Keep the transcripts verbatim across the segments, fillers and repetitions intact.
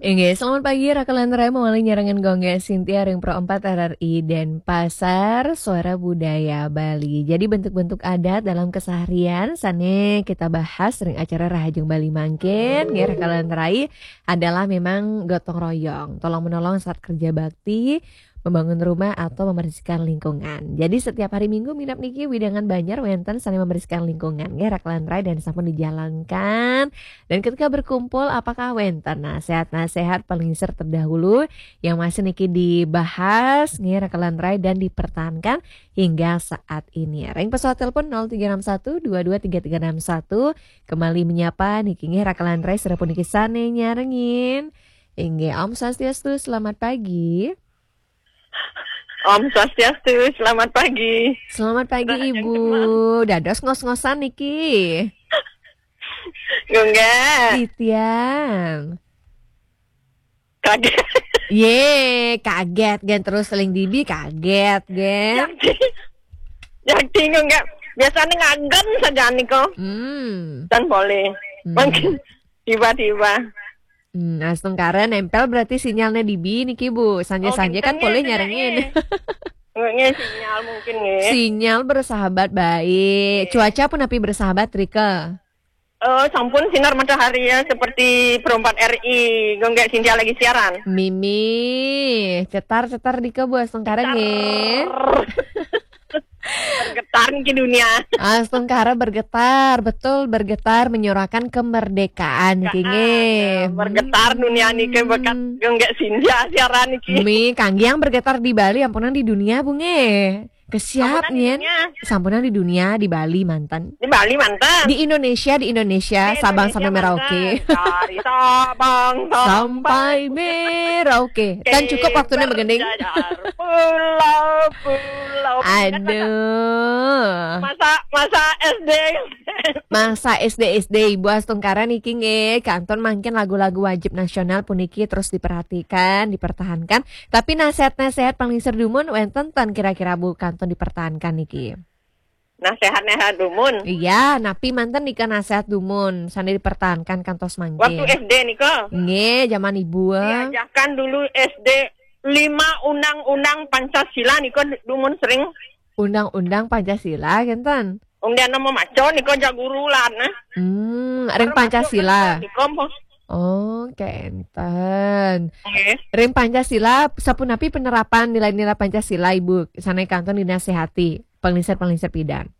Inggih, selamat pagi, Raka Lantarai mawali nyarengan Gung Gek Sintia ring Pro empat R R I Denpasar, Suara Budaya Bali. Jadi bentuk-bentuk adat dalam keseharian sane kita bahas ring acara Rahajeng Bali mangkin, nggih, Raka Lantarai, adalah memang gotong royong, tolong menolong saat kerja bakti, membangun rumah atau membersihkan lingkungan. Jadi setiap hari Minggu minab niki wewidangan banjar wenten sane membersihkan lingkungan, nggih, Raka Lantarai, dan sampun dijalankan. Dan ketika berkumpul, apakah wenten nasehat-nasehat palingsir terdahulu yang masih niki dibahas, nggih, Raka Lantarai, dan dipertahankan hingga saat ini? Ring pesawat telepon nol tiga enam satu dua dua tiga tiga enam satu. Kembali menyapa niki, nggih, Raka Lantarai, sira puniki sane nyarengin. Inggih, Om Swastiastu, selamat pagi. Om Swastiastu, selamat pagi. Selamat pagi, Rahajeng Ibu. Dados ngos-ngosan niki. Gung Gek. Titiang. Kaget. Ye, kaget, gen, terus seling dibi kaget, gen. Jadi, jadi Gung Gek. Biasanya ngagen saja niko. Hmm. Dan boleh. Hmm. Mungkin tiba-tiba. Hmm, astungkara nempel berarti sinyalnya dibi niki, Bu. Sanja-sanja kan boleh nyarengin. Nggih, sinyal mungkin, nggih. Sinyal bersahabat baik. Nggih. Cuaca punapi bersahabat, Rika? Eh, sampun sinar matahari ya, seperti Pro empat R I, Gung Gek Sintia lagi siaran. Mimi, cetar-cetar dika, Bu, astungkara, nggih. Bergetar niki dunia. Astungkara bergetar, betul, bergetar menyuarakan kemerdekaan niki, nggih. Bergetar dunia niki berkat Gung Gek Sintia siaran niki. Mi, kangge yang bergetar di Bali, ampunang di dunia, Bu, nggih. Kesiap, sampunang di dunia. Sampunang di dunia, di Bali manten. Di Bali manten. Di Indonesia, di Indonesia, Sabang sampai Merauke. Dari Sabang sampai Merauke. Kan cukup waktunya begending. Pulau-pulau. Aduh. Masa, masa S D. Masa S D, S D, Ibu, astungkara niki, nggih, kantun mangkin lagu-lagu wajib nasional puniki terus diperhatikan, dipertahankan. Tapi nasehat-nasehat palingsir dumun wenten ten kira-kira, Bu, kantun dipertahankan niki? Nasehat-nasehat dumun? Iya, napi manten nika nasehat dumun sane dipertahankan kantos mangkin? Waktu S D nika. Nggih, zaman Ibu. Diajarkan dulu S D lima undang-undang Pancasila nika dumun sering. Undang-undang Pancasila, kenten? Wong dia nama maco nika jak guru lah, nah. Hmm, ring Pancasila. Nika, oh, kenten. Nggih. Ring Pancasila, sapunapi penerapan nilai-nilai Pancasila, Ibu? Sane kantun dinasehati, palingsir-palingsir pidan?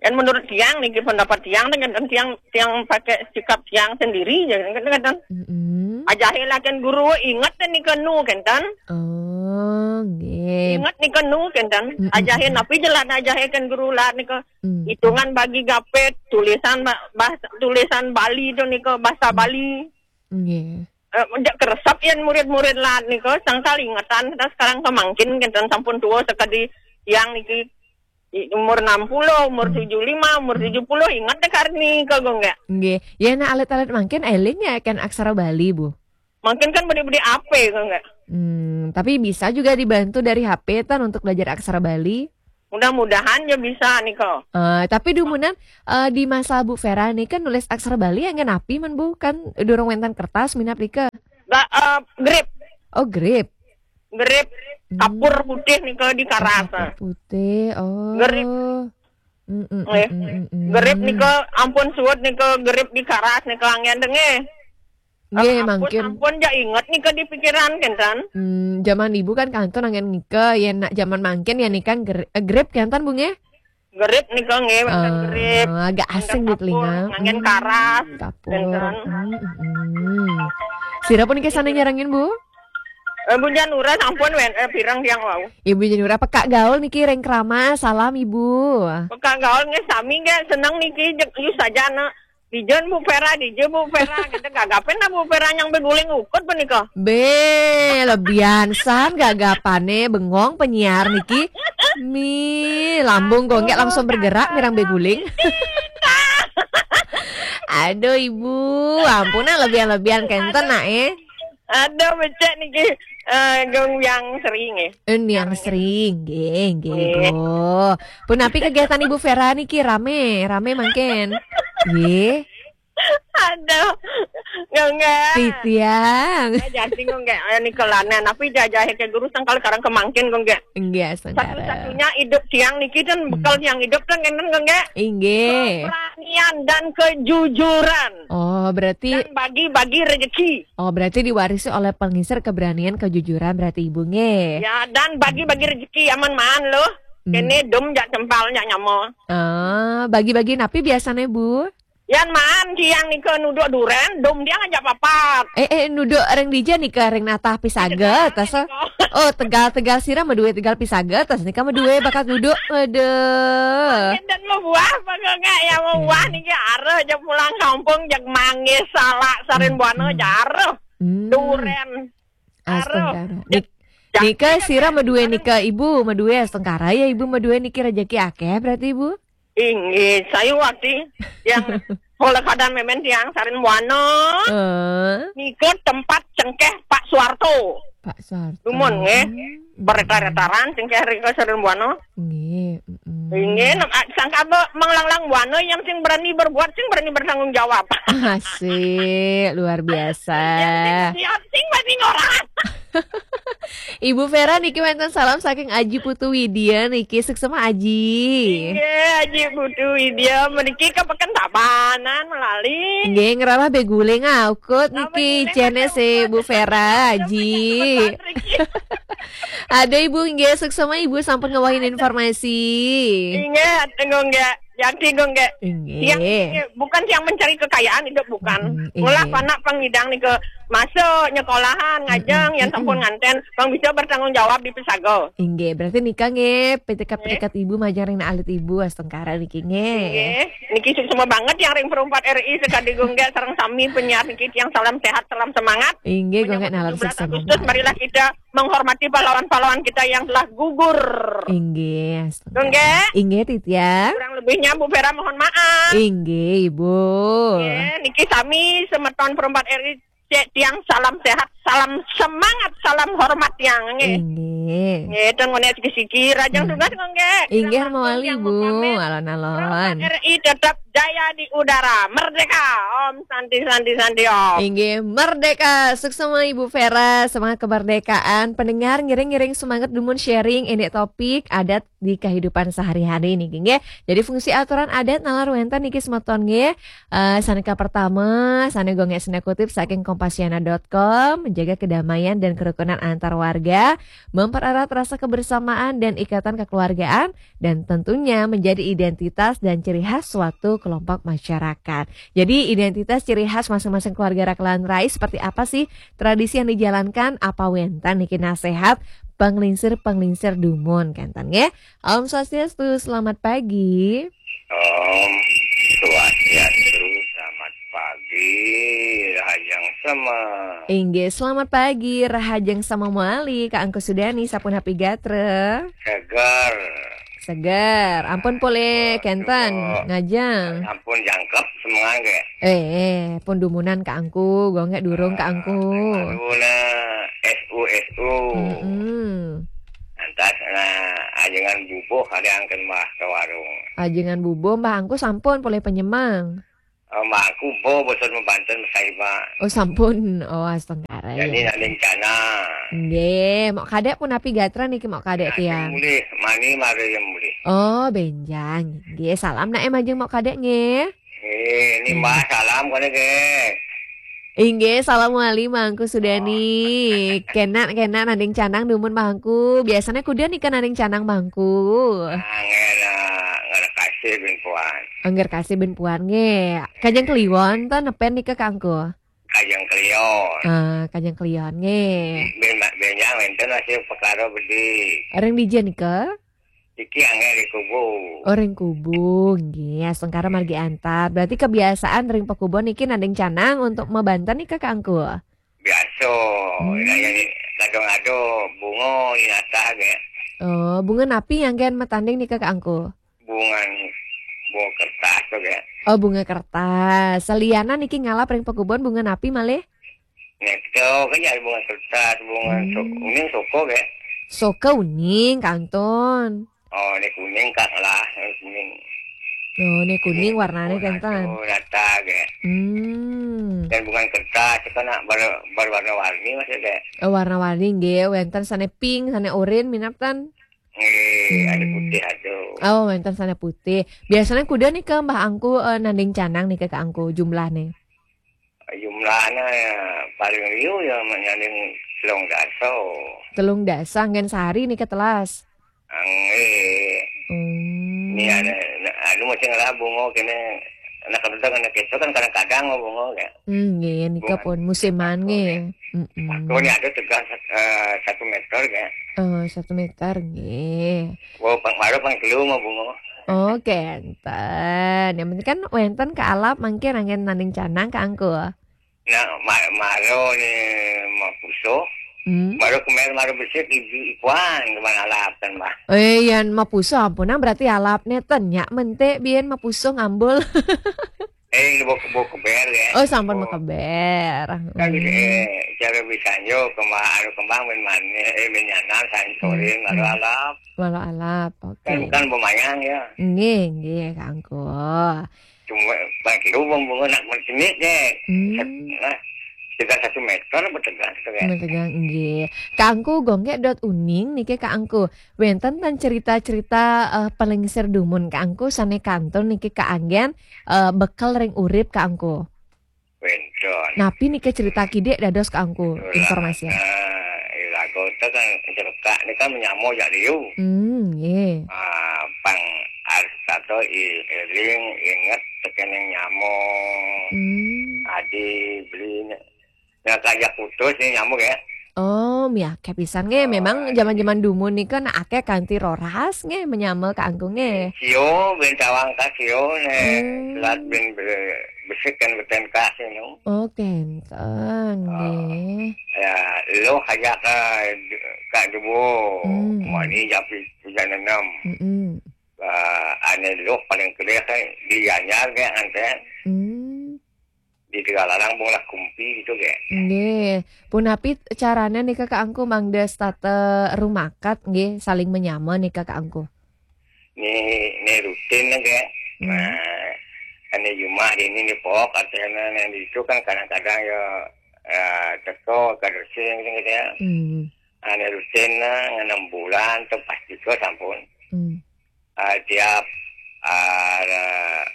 Kan menurut tiang niki, pendapat tiang, dengan tiang, tiang pakai sikap tiang sendiri ya, kan, kan. Mm-mm. Ajahe lah kan guru ingat kan nika nu, kan, kan? Oh, nggih. Ingat nika nu, kan, kan? Mm-mm. Ajahe napi jelas ajahe kan guru lah nika. Mm. Hitungan bagi gape, tulisan ba-, bahasa, tulisan Bali tu nika, bahasa Bali. Nggih. Eh, jak keresep yen murid-murid lah nika, sangkal ingetan, kita sekarang kemangkin, kan, sampun tua sekadi tiang niki. I-, umur enam puluh, umur tujuh lima, umur tujuh puluh, ingat deh karni ke gue nggak? Nggih. Ya, nah, alit-alit mangkin eling ya kan aksara Bali, Bu? Mungkin kan beli-beli A P, gue nggak? Hmm, tapi bisa juga dibantu dari H P tan untuk belajar aksara Bali. Mudah-mudahan ya bisa nih, kok. Eh, tapi dumunan, eh, di masa Bu Vera nih kan nulis aksara Bali yang napi men, Bu? Kan durung wenten kertas minab nika. Ga-, eh, grip. Oh, grip. Grip. Hmm. Kapur putih nika di karas. Kapur putih, oh. Grip. Mm, mm, mm, mm, mm. Grip nika ampun suwud nika, grip di karas nika anggen denge. Nggih, ampun, mangkin. Ampun, ja inget nika di pikiran, kenten. Hmm, zaman Ibu kan kantun anggen nika, ya nak zaman mangkin ya nika ger-, eh, grip kenten, Bu, nggih? Grip nika nggih, wenten grip. Ah, agak asing di telinga. Anggen karas, kapur. Hmm, kenten. Hmm, hmm. Sira puniki sane nyarengin, Bu? Eh, Bu Janura sampun wen-, eh, pirang tiang wau. Ibu Janura pekak gaul niki ring Kramas. Salam, Ibu. Pekak gaul nggih sami nggih, seneng niki, jeg-, yu saja, nak. Dijen Bu Vera, dije Bu Vera, kita gagapen lah Bu Vera yang beguling ukut punika. Be, lebihan san gagapane bengong penyiar niki. Mi, lambung kok nggak langsung bergerak mirang beguling. Aduh, Ibu, ampun, nah, lebihan-lebihan kenten, nak, eh. Aduh, becek niki, eh, Gung Yang Sri nggih. Eh, Yang Sri, nggih, nggih, nggih. Oh. Punapi kegiatan Ibu Vera niki, rame, rame mangkin? Nggih. Aduh. Gongge. Titiang. Jadi gongge, ayo nih kelanen. Tapi jajahe ke guru sangkal karang kemangkin gongge. Enggak, sekarang. Satu-satunya hidup tiang niki dan bekal tiang hidup kan kenten gongge. Inggih. Keberanian dan kejujuran. Oh, berarti Dan bagi-bagi rezeki. Oh, berarti diwarisi oleh pengisir keberanian, kejujuran berarti Ibu nggih. Ya, dan bagi-bagi rezeki aman maan loh. Hmm. Kene dum jak cempal jak nyamo. Ah, bagi-bagi napi biasanya, Bu? Yan maan tiang nika nuduk duren, dum tiang aja papat. Eh, eh, nuduk ring dija nika, ring natah pisaget, tas. Oh, tegal-tegal sira madue tegal pisaget, tas nika madue bakat nuduk. Aduh. Dan mau buah apa enggak? Ya mau buah niki areh jak pulang kampung jak manggis salak sarin buana jak areh. Hmm. Duren. Astungkara. Nik- nika sira madue nika Ibu, madue astungkara ya Ibu, madue niki rejeki akeh berarti Ibu. Inggih, saya waktu yang oleh keadaan memen tiang sarin buana. Eh, Nika tempat cengkeh Pak Suwarto. Pak Suwarto. Dumun nggih. Bereta-retaran cengkeh rika sarin buana. Nggih, mm-mm. Inggih, nem- ah, sangka be- menglanglang buana yang sing berani berbuat, sing berani bertanggung jawab. Asik, luar biasa. Yang sing siap, sing berani ngorang. Ibu Vera niki wenten salam saking Aji Putu Widya niki, suksema Aji. Inggih, Aji Putu Widya meniki ke Peken Tabanan melali. Nggih, ngerarah beguling aukut niki Beguling cene aukut. si Bu Vera Aji. Betul, Riki. Ada Ibu nggih, suksema Ibu sampun ngawahin informasi. Inggih, tengok nggak? Jadi gongge. Inggih. Yang bukan yang mencari kekayaan hidup bukan. Mm, Ngolah inggih. Panak pengidang nika masuk nyekolahan ngajeng yang sampun nganten bang bisa bertanggung jawab di pesago. Inggih, berarti nika nggih petikat-petikat Ibu majeng ring alit Ibu astungkara niki nggih. Nggih, niki suksema banget yang ring perumpat R I sekadi gongge sareng sami penyiar niki yang salam sehat, salam semangat. Inggih, gongge Menyambut nalar tujuh belas suksema. Agustus, marilah kita menghormati pahlawan-pahlawan kita yang telah gugur. Inggih. Gongge. Inggih, Titiang. Kurang lebihnya Bu Vera mohon maaf. Inggih, Ibu. Nggih, niki sami semeton perumpat R I cek tiang salam sehat, salam semangat, salam hormat tiang nggih. Inggih. Nggih, dan ngone siki-siki rajang tugas nggih. Inggih, Kirang mawali, langkung Bu. yang mengkomen. Alon-alon. Perumpat R I tetap jaya di udara. Merdeka. Om Santi, Santi, Santi, Om. Inggih, merdeka. Suksema Ibu Vera, semangat kemerdekaan. Pendengar ngiring-ngiring semangat dumun sharing ini topik adat di kehidupan sehari-hari niki nggih. Jadi fungsi aturan adat nalar wenten niki semeton nggih. Eh, saneka pertama, sane gongge sane kutip saking kompasiana dot com, menjaga kedamaian dan kerukunan antar warga, mempererat rasa kebersamaan dan ikatan kekeluargaan, dan tentunya menjadi identitas dan ciri khas suatu kelompok masyarakat. Jadi identitas ciri khas masing-masing keluarga Rakelan Rai seperti apa sih? Tradisi yang dijalankan apa wenten niki nasehat penglingsir-penglingsir dumun kenten nggih. Om Swastiastu, selamat pagi. Om Swastiastu, selamat pagi, Rahajeng Sema. Inggih, selamat pagi, Rahajeng Sema mawali, Kak Angku Sudani, sapunapi gatra? Seger. Seger, ampun pole kenten, Aduh. ngajeng. Ampun jangkep semangat ke. Eh, eh, pun dumunan Kak Angku, gongge durung Kak Angku. Aduh, nah, S U S U. Mm-mm. Lantas, nah, ajengan bubuh ada angken mah ke warung. Ajengan bubuh, Mbah Angku sampun pole penyemang. Oh, mah aku bo bosan membanten saya, Pak. Oh, sampun. Oh, astungkara. Jadi Ya. Nading Canang. Nggih, mok kadek punapi gatra niki mok kadek tiang. Mulih, mani mari yang mulih. Oh, benjang. Nggih, salam nak majeng mok kadek nggih. Eh, ini Mbah salam kone ke. Inggih, salam wali Mbah Angku Sudani. Kenak, kenak Nading Canang dumun Mbah Angku. Biasanya kuda nika Nading Canang Mbah Angku. Angel, ah, nggak ada kasih bin puan. Angger kasih ben puan nggih. Kajeng Kliwon to nepen nika Kak Angku. Kajeng Kliwon. Ah, Kajeng Kliwon nggih. Bin benjang wenten masih perkara bedi. Ring dija nika? Iki angel di kubu. Oh, ring kubu nggih. Astungkara margi antar. Berarti kebiasaan ring pekubon niki Nading Canang untuk mabanten nika Kak Angku. Biasa. Hmm. Ya, ya, kadang ada bunga di atas ya. Oh, bunga napi yang gen matanding nika Kak Angku? Bunga, bunga kertas tuh ya. Oh, bunga kertas. Selianan niki ngalap ring pekubon bunga napi malih? Nek to kan ya bunga kertas, bunga Hmm. so, kuning soko ya. Soka uning kantun. Oh, ini kuning kak lah, ini kuning. Oh, ini kuning warnanya Bunga kenten. Sunata ge. Hmm. Dan bunga kertas itu kan bar, bar warna-warni masih ge. Oh, warna-warni nggih, wenten sane pink, sane orange minab ten. Nggih, ada Hmm. putih aduh. Oh, wenten sane putih. Biasanya kuda nih ke Mbah Angku eh, nanding canang nih ke Angku jumlahnya. Jumlahnya ya, paling liu ya menyanding telung dasa. Telung dasa ngen sehari nih ke telas. Nggih. Hmm. Ini ada anu masih ngelah bunga kene anak kerja anak itu kan kadang-kadang mau bunga ya. Hmm, nggih, nika pun musiman nggih. Mm-mm. Aku ini ada tegang sat- eh, satu meter ya. Oh, satu meter nggih. Baru pang baru pang kelu mau bunga. Oh, kenten. Yang penting kan wenten ke alap mangke nanggen nanding canang ke Angku. Nah, ma- maro ni mapuso. Hmm. Maro kemer maro besik ibu ikuan kemana alap kan bah. Eh, yan mapuso ampunang berarti alap neten nya mente bien mapuso ngambul. Eh, ini bawa bawa keber ya. Oh, sampun Bawa- makeber. Kan Hmm. eh, cara bisanya kembang anu kembang main mana eh main nyanan sansorin Hmm, lalu hmm. alap. Walau alap, oke. Kan kan lumayan ya. Nggih, nggih, Kangku. Cuma bagi lubang bunga nak mencemit deh. Hmm. Nah, sekitar satu meter bertegang gitu kan. Metegang nggih. Kangku gongge dot uning niki Kangku. Wenten ten cerita-cerita eh, pelengsir dumun Kangku sane kantun niki kaanggen eh, bekel ring urip Kangku. Wenten. Napi niki cerita kidik dados Kangku informasi. Nah, lagu itu kan cerita ini kan menyamo jak liu. Hmm, nggih. Ah, pang harus kata i- eling inget tekening nyamo. Hmm. Adi beli. Nah, kajak putus nih nyamo ya. Oh, miake pisan nggih. Memang Ah, zaman-zaman dumun nika nak akeh kanthi roras nggih menyama Kangku nggih. Sio, bentawang kasio ne. Hmm. Selat bin be- besik kan beten kasih no. Oh, kenten nggih. Ya, lo kajak ka ka debo. Hmm. Mani japi hujan enam. Mm-mm. Ah, ane lo paling kelih kan di Gianyar kan ante. Hmm. Di Tegalarang bung lah kumpi gitu ge. Nggih. Punapi carane nika Kangku mangda setata rumakat nggih saling menyama nika Kangku. Ni ni rutin ge. Hmm. Nah, ane Jumat ini ni pok artinya yang di itu kan kadang-kadang ya eh, teko kadang sing gitu ya. Hmm. Ane rutin lah enam bulan tu pasti ke sampun. Hmm. Ah, tiap ah,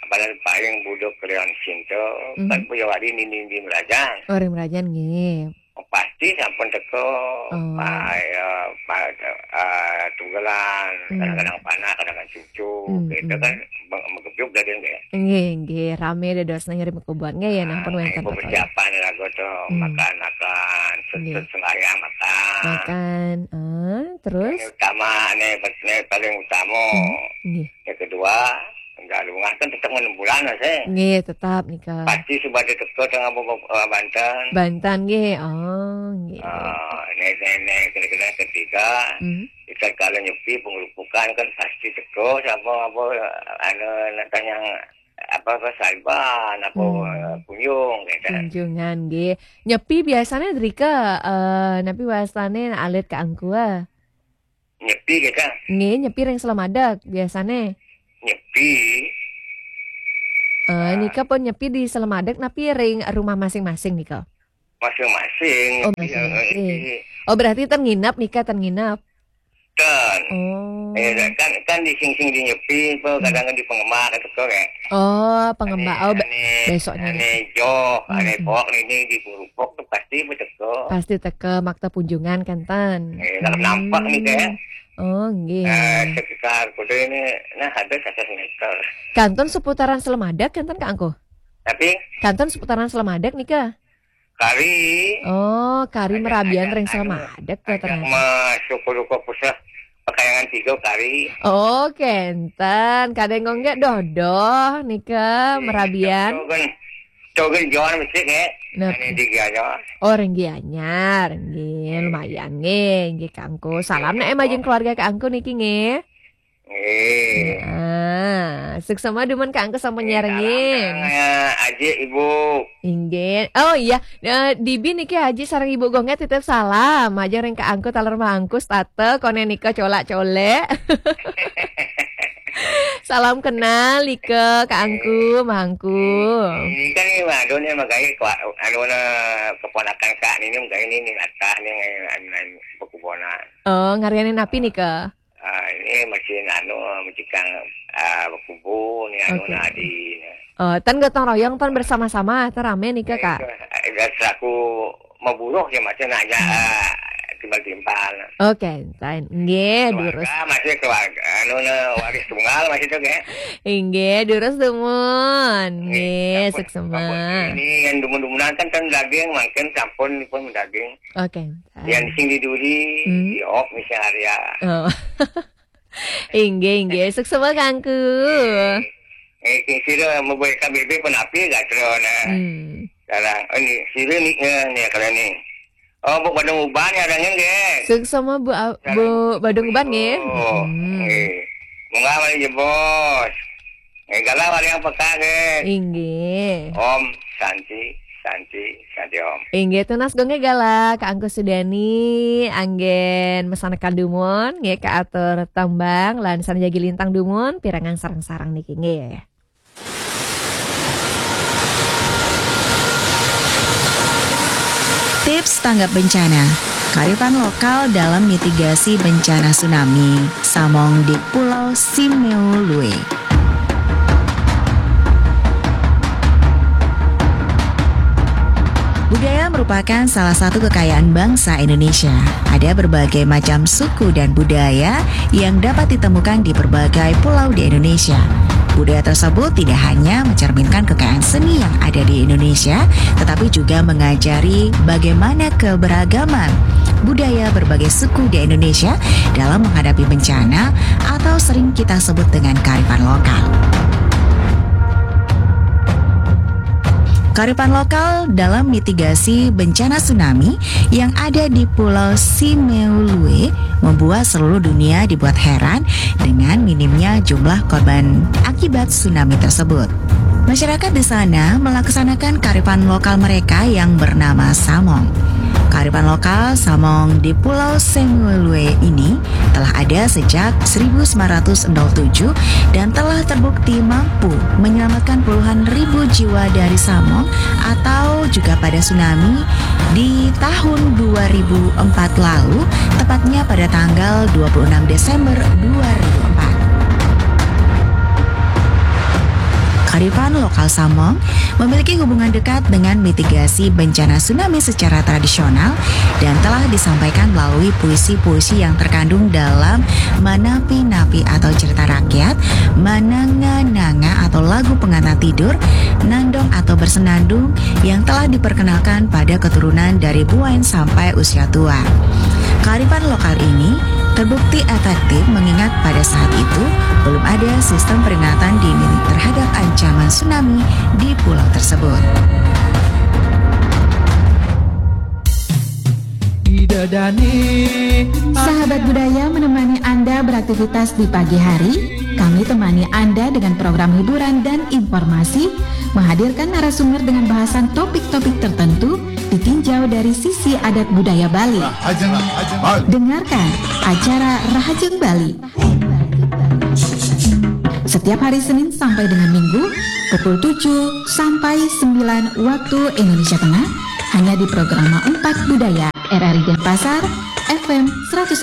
badan paling buduk kalian cinta Hmm. kan punya wadi ni ni di Merajang. Oh, ring Merajan nggih. Pasti sampun teko Oh. pa ya pa ah, tugelan Hmm. kadang-kadang panak kadang-kadang cucu Hmm, gitu hmm. Kan meng- menggebyuk daging deh. Nggih, nggih, rame dados nang ngirim kubon nggih ya nang pun wenten Ibu teko. Persiapan lagu tu Hmm. Makan-makan Nggih. Sesut sembahyang makan. Makan. Ah, terus? Ini utama ni, ni paling utama. Hmm, nggih. Yang kedua, enggak lungas kan tetap enam bulan lah sih. Nggih, tetap nika. Pasti sebab dia teko tengah bawa Banten. Banten nggih. Oh, nggih. Ah, ni ni ni kena-kena ketiga. Hmm. Kita kalau nyepi pengerupukan kan pasti teko sama apa anu nak tanya apa apa saiban apa Hmm. kunjung gitu. Kunjungan nggih. Nyepi biasanya drika eh napi wastane alit Kangku ah. Nyepi kita Nggih, nyepi ring Selamadeg biasane. Nyepi. Eh nika pun nyepi di Selamadeg napi ring rumah masing-masing nika. Masing-masing. Oh, Nyepi, masing-masing. eh, eh, Oh, berarti ten nginep nika ten nginep. Ten. Oh. Eh, kan kan di sing-sing di nyepi apa kadang di pengemak itu kok eh. Oh, pengemba. Oh, be- Ane- besoknya. Ane joh, ane Hmm. pok ini di pengerupuk tu pasti berteko. Pasti teka makta punjungan kan ten. Eh, nak nampak ni ke. Oh, nggih. Eh, sekitar kuda ini nah ada satu meter. Kanton seputaran Selamadeg kanton Kangku. Tapi Kanton seputaran Selamadeg nika. kari Oh, kari Ada- merabian ada- ring ada- Selamadeg tuh ada ternyata. masuk ke ruko pusat pakaian tiga kari. Oh, kenten. Kadang ngongge dodoh nika merabian. Togen togen John mesti ke. Nah. Ini tiga aja. Oh, ring Gianyar, nggih, lumayan nggih, nggih Kangku. Salam nek majeng keluarga Kangku niki nggih. Eh. Ah, suksma dumun Kangku sampun nyarengin. Aji ibu. Inggih. Oh iya, eh, Dibi niki Haji sareng Ibu Gongge titip salam. Aja ring Kangku taler mangkus tate kone nika colak-colek. Salam kenal, Ika, Kak Angku, Mangku. Ini kan ni, aduh, ni magaé ku, anu, na, keponakan Kak ni, ni magaé ni, ni atah ni, anu, anu, pekubonan. Oh, ngarianin napi nih, Kak? Ah, ini masih anu, masih kang, ah, kubu ni, anu, Oke. Nadi. Oh, tan gotong royong, tan bersama-sama, tan ramé nih, Kak. Eh, selaku maburuh ya, masih nanya, Hmm. ah, timbal-timbal. Oke, tan. Nggih, durus. Keluarga masih keluarga, anu, na, waris tunggal masih tuh, nggih. Inggih, durus dumun. Nggih, Nggih, sampun, suksma. Sampun. Ini yang dumun-dumunan kan, kan daging, mangkin sampun pun daging. Oke. Yang sing diduri, Hmm. Diop, misalnya. Oh. Inggih, inggih. Suksma, Kangku. Eh, sing sira mlebu K B B pun api gak terus, nah. Hmm. Sekarang, oh, ini, sira ni, eh, ni, kalau ni. Oh, Bu Badung Uban ya, orangnya, nggih. Suksma, Bu, a-, Sekarang Bu Badung Uban, nggih. Oh, Hmm. nggih. Munggah malih jebos. Nggih, galah malih yang peka, nggih. Inggih. Om Santi, Santi, Santi Om. Inggih, tunas gonggé galah, Kak Angku Sudani, anggén mesanekan dumun, nggih, kaatur tembang, lan sareng jagi lintang dumun, pirengang sareng-sareng niki, nggih. Tips tanggap bencana. Kearifan lokal dalam mitigasi bencana tsunami, Samong di Pulau Simeulue. Budaya merupakan salah satu kekayaan bangsa Indonesia. Ada berbagai macam suku dan budaya yang dapat ditemukan di berbagai pulau di Indonesia. Budaya tersebut tidak hanya mencerminkan kekayaan seni yang ada di Indonesia, tetapi juga mengajari bagaimana keberagaman budaya berbagai suku di Indonesia dalam menghadapi bencana atau sering kita sebut dengan kearifan lokal. Kearifan lokal dalam mitigasi bencana tsunami yang ada di Pulau Simeulue membuat seluruh dunia dibuat heran dengan minimnya jumlah korban akibat tsunami tersebut. Masyarakat di sana melaksanakan kearifan lokal mereka yang bernama Samong. Kearifan lokal Samong di Pulau Simeulue ini telah ada sejak seribu sembilan ratus nol tujuh dan telah terbukti mampu menyelamatkan puluhan ribu jiwa dari Samong atau juga pada tsunami di tahun dua ribu empat lalu, tepatnya pada tanggal dua puluh enam Desember dua ribu empat. Kearifan lokal Samong memiliki hubungan dekat dengan mitigasi bencana tsunami secara tradisional dan telah disampaikan melalui puisi-puisi yang terkandung dalam manapi-napi atau cerita rakyat, mananga-nanga atau lagu pengantar tidur, nandong atau bersenandung yang telah diperkenalkan pada keturunan dari buain sampai usia tua. Kearifan lokal ini terbukti efektif mengingat pada saat itu belum ada sistem peringatan dini terhadap ancaman tsunami di pulau tersebut. Sahabat budaya menemani Anda beraktivitas di pagi hari. Kami temani Anda dengan program hiburan dan informasi, menghadirkan narasumber dengan bahasan topik-topik tertentu, ditinjau dari sisi adat budaya Bali. Dengarkan acara Rahajeng Bali setiap hari Senin sampai dengan Minggu pukul tujuh sampai sembilan waktu Indonesia Tengah, hanya di Programa empat Budaya R R I Denpasar, F M seratus